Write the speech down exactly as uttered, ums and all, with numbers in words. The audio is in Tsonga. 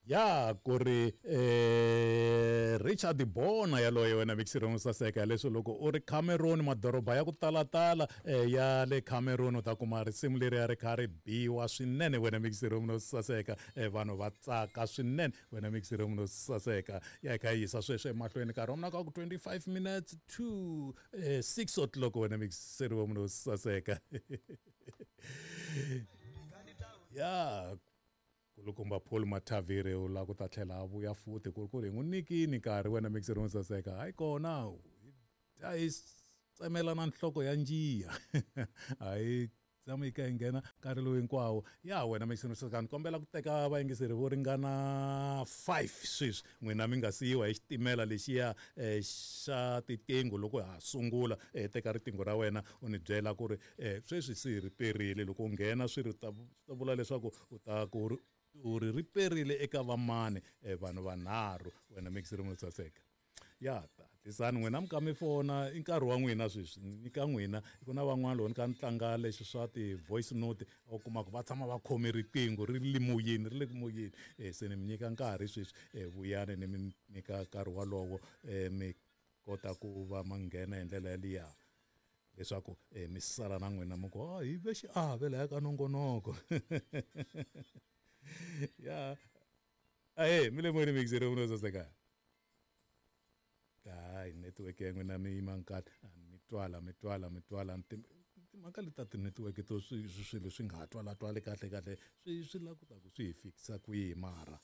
Ya ku ri eh, Richard Bona yaloye wena mixirong saseka leswi loko u ri Cameroon, madoroba ya ku talatala eh, ya le Cameroon, u ta kuma risimu leri ya ri kha ri biwa swinene wena mixirong no saseka. eh, vanhu va tsaka swinene wena mixirong no saseka. Ya hi kha hi yisa sweswo emahlweni nkarhi wa mina ka ku twenty-five minutes to eh, six o'clock wena mixirong no saseka. Ya kulukumba Paul Matavire u lava ku ta tlhela a vuya futhi ku ri ku ri hi n'wi nyikini nkarhi wena mixer wo saseka. Hayi kona a hi tsemela na nhloko ya njiya, a hi tshama yi kha yi nghena nkarhi lowu hinkwawo. Ya wena mixer wo saseka, ni kombela ku teka vayingiseri vo ringana five sweswi, n'wina mi nga siyiwa hi xitimela lexiya eh, xa tiqingho. Loko ha sungula eh, teka riqingho ra wena u ni byela ku ri eh, sweswi se ri perile. Loko u nghena swi ri ta ta vula leswaku u ta ku ri u ri riperile eka vamani, eh, vanhu vanharhu wena mixer wo saseka. Ya hatlisani n'wina mi ka mi fona, i nkarhi wa n'wina sweswi, ni ka n'wina. Ku na van'wana loko ni ka ni tlanga leswi swa ti-voice note, u kuma ku va tshama va khome riqingho ri le moyeni, ri le ku moyeni. eh, se ni mi nyika nkarhi sweswi, eh, vuyani ni mi nyika nkarhi walowo, eh, mi kota ku va ma nghena hi ndlela yaliya leswaku eh, mi sala na n'wina mi ku oh, hi ve xiave laya ka nongonoko. Ya ahe mi le moyeni mixer no saseka. Hayi network ya n'wina mi yima nkarhi, mi twala mi twala mi twala timhaka leti ta ti-network to swilo swi nga ha twalatwali kahle kahle, swi swi lava ku ta ku swi hi fikisa kwihi mara.